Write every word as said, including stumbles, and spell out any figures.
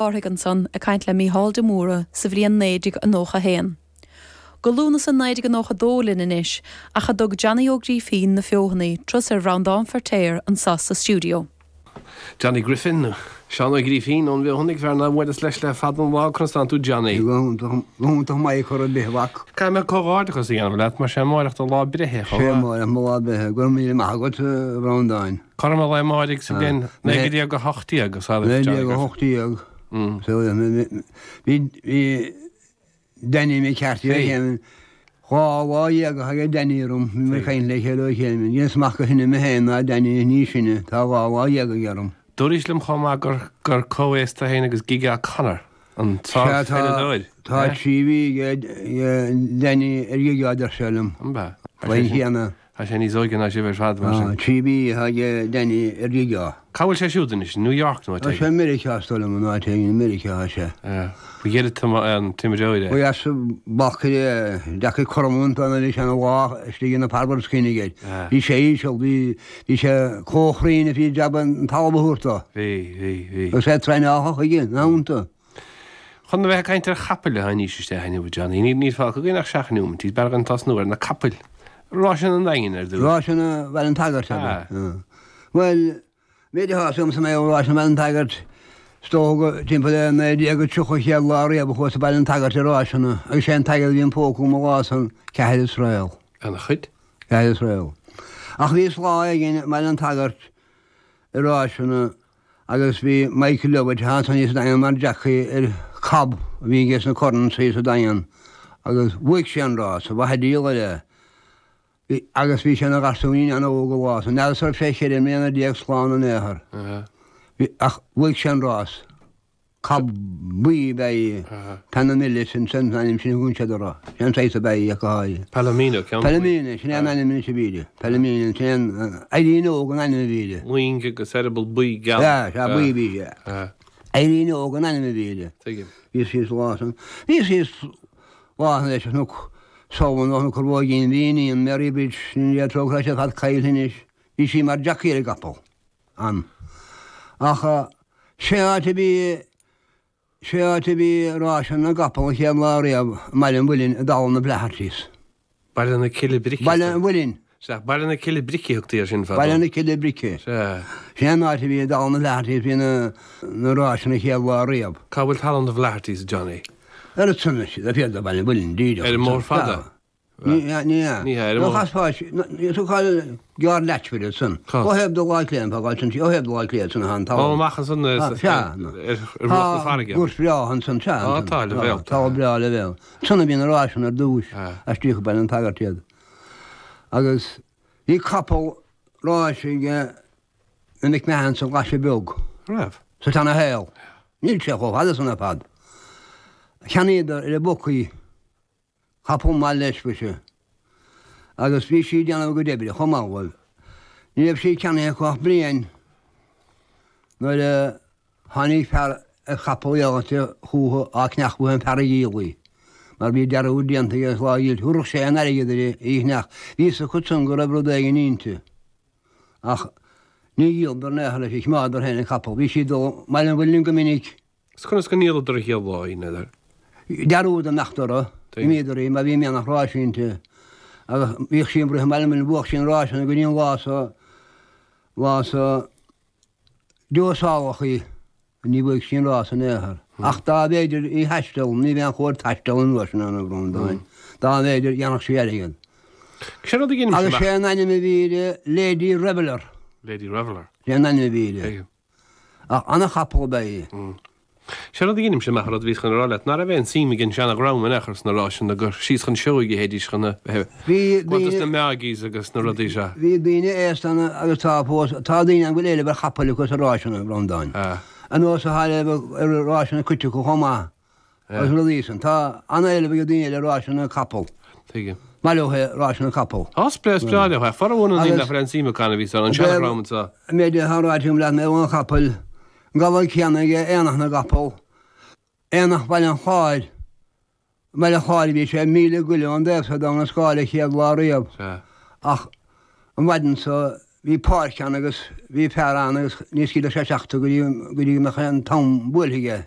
Cárthaigh ansan ag caint le Mícheál de Mórdha sa bhliain naoi déag nócha a haon. Go Lúnasa naoi déag nócha dó linn anois ach a dtug Johnny Ó Grífín na Feothanaí turas ar Bhreandán Feirtéar anso sa stiúideo. Johnny Griffin, Seán Ó Grífín ón bhFeothanaigh, fear nár bhuaileas leis le fada an lá. Conas tánn tú Johnny? Go hiontach maith chor ar bith a mhac. Caithfidh mé comhghairdeachas a dhéanamh leat mar sé amáireach do lá breithe chomh Sé maith. amáireach mo lá breithe. Go raibh míle maith agat, a Bhreandáin. Cothrom an lae amáirigh sa bhliain naoi déag a hocht déag a saothar Naoi Johnny déag a Griffin. hocht déag. Bhí bhí Danny McCarthy ó chéim dhá lá dhéag atá ag Danny orm, bhí mé ag caint le chéile ó chéim. Dhéanas amach gur shine mé féin ná Danny ní sine, tá dhá lá dhéag aige orm. Dúraís liom chomh maith gur gur comhaos tú féin agus Gige O'Connor, an Sea, tá tsárpheileadóir. tá trí mhí ag Danny ar Ghige a deir sé liom. An b'ea? Faoin chéanna. Tá sé níos óige ná sibh ar fad mar sin. Trí mhí atá ag Danny ar Ghige. Cá bhfuil sé siúd anois? New York nó áit Tá sé éigin? i Meiriceá is dóigh liom, an áit éigin i Meiriceá atá sé. Ba ghearr an t-imreoir é. Ba dheas bacaire deacair cothrom an bhí sé ina lá istigh ina parbar scian aige. Bhí sé íseal, bhí bhí sé comhchruinn a bhí jab an talamh a thabhairt dó. Bhí, bhí, bhí. Agus é traenáilte chuige, ina theannta. Chun a bheith ag caint ar chapaill a tháinís isteach inniu, a Johnny, níl níl fágtha againn ach seacht neomat, b'fhearr againn tosnú ar na capaill. Ráiseanna an Daingin ar dtús. Ráiseanna Bhaile an tSagairt, ab ea? Bhuel, méid atá fhios agamsa mé ó Ráiseanna Bhaile an tSagairt, is dócha go timpeall le naoi déag tríocha an chéad lá riamh a chuas go Baile an tSagairt ar ráiseanna agus sé an t-airgead a bhí im phóca agam an lá san, ceathair is réal. Ana-chuid. Ceathair is réal. Ach bhíos lá éigin i mBaile an tSagairt i ráiseanna agus bhí Michael Lovett ansan thíos sa Daingean mar jockey ar cob a bhí aige sna Currans thíos sa Daingean agus bhuaigh sé an rás, ba mhaith an díol air é. Bhí, agus bhí sé ina gharsúinín an-óg an lá san, n'fheadar an raibh sé cheithre mbliana déag slán in aon chor. Bhí, ach bhuaigh sé an rás. Cob buí ab ea í, Panamillis sin an ainm sin a thugann siad uirthi. Sin an saghas ab ea í ach go háirithe. Palomino, ceann buí. Palomino, sin é an ainm anois a bhí uirthi. Palomino, sin é an, Éirín Óg an ainm a bhí uirthi. Loing agus eireaball buí geal. Sea, sea, buí a bhí sé. Éirín Óg an ainm a bhí uirthi. Tuigim. Bhíos thíos lá san. Bhíos thíos lá leis an Cnoc Samhna nó Cnoc an Róigín, bhí iníon Mary Bridge, sin é trócaire sé fad caillte anois. Bhí sí mar jockey ar an gcapall. An. Ach sé áit a bhí, sé áit a bhí ráiseanna na gcapall an chéad lá riamh i mBaile an Mhuilinn i dTalamh na bhFlaitheartys. Baile na Cille Brice. Baile an Mhuilinn. Sea, Baile na Cille Brice a thugtaí air sin fadó. Baile na Cille Brice. Sea. Sin an áit a bhí i dTalamh na bhFlaitheartys, bhí na, na ráiseanna an chéad lá riamh. Cá bhfuil Talamh na bhFlaitheartys, a Johnny? Ar an tSunas, le fios do Bhaile an Mhuilinn, díreach. Ar an mBóthar Fada? Ní hea, ní hea. Ní hea, ar an Nó mbóthar. chasfá, tú cáil gearr leathmhíle ansan. Cá? Ó thaobh de Bhaile Átha Cliath, fágáil ansan, ó thaobh de Bhaile Átha Cliath ansan atá an talamh. Ó, amach ansan Ah, sea. ar ar mhullach na farraige. Tá gort breá ansan, sea. Á, tá, leibhéal. Tá breá leibhéal. Ansan a bhí na ráiseanna ar dtúis, Ah. aistríodh go Baile an tSagairt iad. Agus bhí capall ráis ag na McMahons sa Ghlaise Bheag. Raibh? Sa tseana-shaol. Níl sé chomh fada san ar fad. Cheannaíodar ar an bhookie. Capall maith leis mhuise. Agus bhí sí ag déanamh a gcuid oibre chomh maith dhóibh. Ní raibh sí ceannaithe acu ach bliain nuair a tháinig fear ar chapall dheighilte chúthu á ceannach uaidh an fear a dhíol í. Mar bhí dearúd déanta aige agus lá a dhíolta thabharfadh sé an airgead uirthi í a cheannach. Bhí fhios acu san go raibh rud éigin inti. Ach ní dhíoladar in aon chor leis í, choimeádadar féin an capall. Bhí sí ag dul Baile an Mhuilinn go minic. Is conas go ndíoladar an chéad lá í, n'fheadar? Dearúd imeacht orthu, d'imíodar í mar bhí mianach ráis inti agus bhíodh sí ag rith i mBaile an Mhuilinn, bhuadh sí an ráiseanna go dtí an lá so, lá so deosáladh í, ní bhuaigh sí an rás in aon chor. Ach dá mb'fhéidir í thaisteal, ní bheadh aon chóir taisteal an uair sin ann, a Bhreandáin, dá mb'fhéidir, dhéanfadh sí airgead. Sé rud a dheinim Agus sé an ainm a bhí uirthi, Lady Reveller. Lady Reveller. Sé an ainm a bhí uirthi. Ach ana-chapall ab ea í. Sé rud a dheinim-se amach an rud a bhíos chun a rá leat, ná raibh aon suim ag an seana-dhream in aon chor sna ráiseanna gur síos chun Seoighe a théidís chun a bheith Bhí ag daoine. na Meáigís agus na rudaí seo. Bhí daoine aosta ann agus tá fós, tá daoine ann go bhfuil éileamh ar chapaill acu sa ráiseanna, a Bhreandáin. Anuas atá éileamh ar ráiseanna cuid acu chomh maith. Agus rudaí san. Tá an-éileamh ag daoine ar ráiseanna capall. Tuigim. Maith leo é ráiseanna capall. Tá, is breá, is breá leo é. Formhór na ndaoine nach bhfuil aon suim acu ann a bhí san, an seana-dhream anseo. An méid atá ráite agam leat mé ón chapall, an gabhal céanna ag Aonach na gCapall, Aonach Bhaile an Chláir, i mBaile an Chláir a bhí sé, míle goile ón dtaobh so d'Abhainn an Scáil an chéad lá riamh. Ach an mhaidin so bhí páirc ann agus bhí fear ann agus ní scaoilfeadh sé isteach tú go dtí go dtí go mbeadh an t-am buailthe aige.